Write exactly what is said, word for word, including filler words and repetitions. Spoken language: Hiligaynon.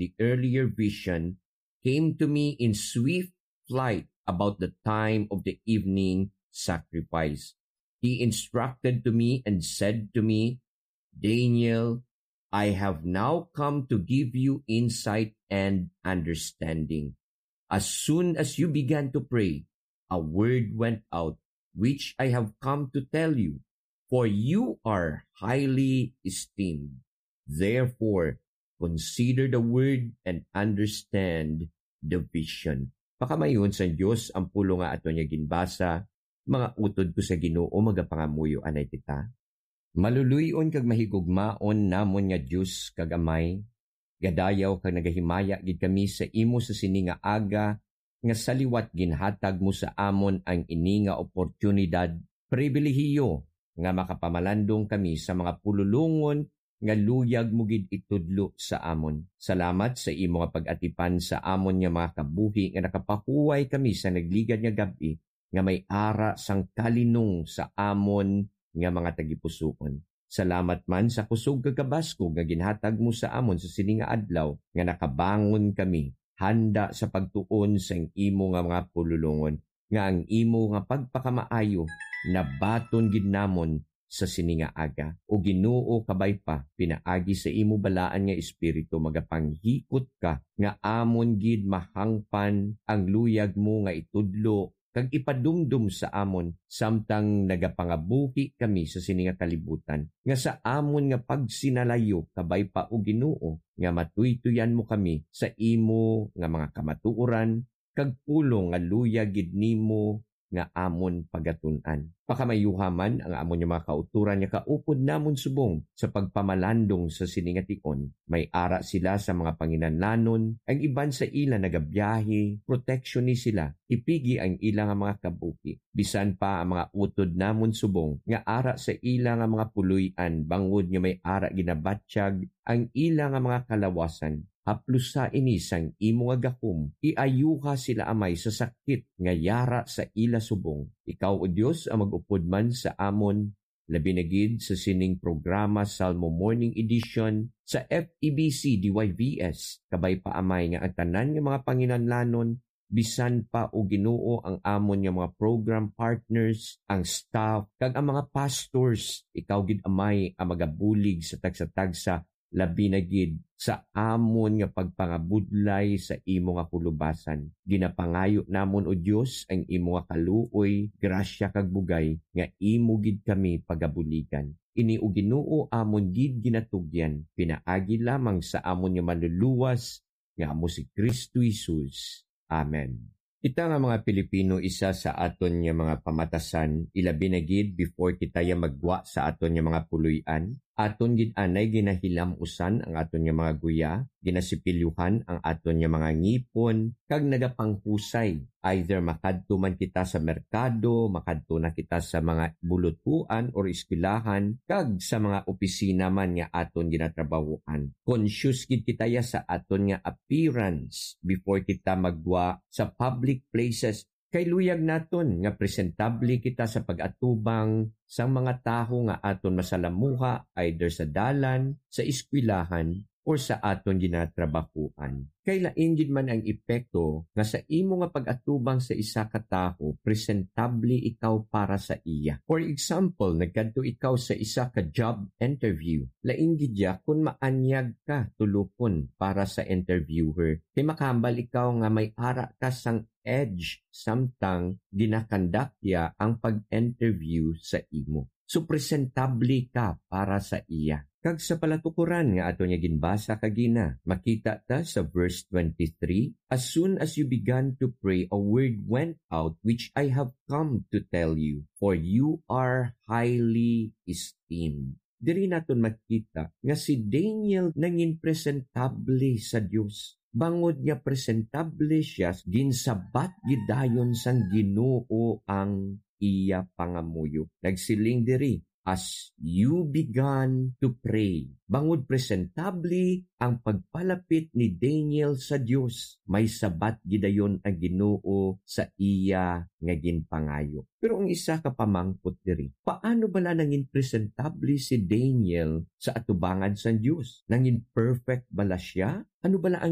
the earlier vision came to me in swift flight about the time of the evening sacrifice. He instructed to me and said to me, "Daniel, I have now come to give you insight and understanding. As soon as you began to pray, a word went out, which I have come to tell you, for you are highly esteemed. Therefore, consider the word and understand the vision." Pakamayon sang Dios ang pulong nga aton nga ginbasa. Mga utod ko sa Ginoo, magapangamuyo anay kita. Maluloy-on kag mahigugmaon namon nga Dios kag Amay, gadayaw kag nagahimaya gid kami sa imo sa sini nga aga, nga sa liwat ginhatag mo sa amon ang ini nga oportunidad, pribilehiyo, nga makapamalandong kami sa mga pululongon nga luyag mo gid itudlo sa amon. Salamat sa imo nga pag-atipan sa amon nga mga kabuhi, nga nakapahuway kami sa nagligad nga gab-i, nga may ara sang kalinong sa amon nga mga tagipusoon. Salamat man sa kusog kag kabaskog nga ginhatag mo sa amon sa sini nga adlaw, nga nakabangon kami handa sa pagtuon sang imo nga mga pululongon, nga ang imo nga pagpakamaayo nabaton gid namon sa sini nga aga. O Ginoo, kabay pa, pinaagi sa imo balaan nga Espiritu, magapanghikot ka nga amon gid mahangpan ang luyag mo nga itudlo kag ipadumdom sa amon, samtang nagapangabuhi kami sa sini nga kalibutan, nga sa amon nga pagsinalayo, kabay pa, O Ginoo, nga matuytoyan mo kami sa imo nga mga kamatuoran, kag pulong nga luyag gid nimo nga amon pagatun-an. Pakamayuha man ang amon nga mga kautoran nga kaupod namon subong sa pagpamalandong sa sini nga tion. May ara sila sa mga panginanlanon, ang iban sa ila nagabiyahe, proteksyon ni sila, ipigi ang ila nga mga kabuhi. Bisan pa ang mga utod namon subong nga ara sa ila nga mga puloy-an, bangod nga may ara ginabatyag ang ila nga mga kalawasan. Haplusa ini sang imo nga gahom. Iayuha sila, Amay, sa sakit nga yara sa ila subong. Ikaw, O Dios, ang mag-upod man sa amon, labi na gid sa sining programa, Salmo Morning Edition, sa F E B C D Y V S. Kabay pa, Amay, nga ang tanan nga mga panginanlanon, bisan pa, O Ginoo, ang amon nga mga program partners, ang staff, kag ang mga pastors, ikaw gid, Amay, ang magabulig sa tagsa-tagsa, labi na gid sa amon nga pagpangabudlay sa imo nga kulubasan. Ginapangayo namon, O Dios, ang imo nga kaluoy, grasya, kag bugay, nga imo gid kami pagabuligan. Ini, O Ginoo, amon gid ginatugyan, pinaagi lamang sa amon nga Manluluwas, nga amo si Cristo Jesus. Amen. Kita nga mga Pilipino, isa sa aton nga mga pamatasan, ilabi na gid before kita ya maggwa sa aton nga mga puloy-an, aton gid anay ginahilam-usan ang aton nga mga guya, ginasipilyuhan ang aton nga mga ngipon, kag nagapanghusay. Either makadto man kita sa merkado, makadto na kita sa mga bulutuan or eskwelahan, kag sa mga opisina man nga aton ginatrabahoan. Conscious gid kita ya sa aton nga appearance before kita maggwa sa public places. Kay luyag naton nga presentable kita sa pag-atubang sang mga tawo nga aton masalamuha, either sa dalan, sa eskwelahan, or sa aton ginatrabahoan. Kay lain gid man ang epekto nga sa imo nga pag-atubang sa isa ka tawo, presentable ikaw para sa iya. For example, nagkadto ikaw sa isa ka job interview. Lain gid ya kon maanyag ka tulupon para sa interviewer. Kay makahambal ikaw nga may ara ka sang edge samtang ginakandak ya ang pag-interview sa imo. So, presentable ka para sa iya. Kag sa palatukoran nga ato niya ginbasa kagina, makita ta sa verse twenty-three, "As soon as you began to pray, a word went out which I have come to tell you, for you are highly esteemed." Diri naton makita nga si Daniel nangin presentable sa Dios. Bangod nga presentable siya, ginsabat gid dayon sang Ginoo ang iya pangamuyo. Nagsiling diri, "As you began to pray." Bangod presentable ang pagpalapit ni Daniel sa Dios, may sabat gid dayon ang Ginoo sa iya nga ginpangayo. Pero ang isa ka pamangkot diri, paano bala nangin presentable si Daniel sa atubangan sang Dios? Nangin perfect bala sia? Ano bala ang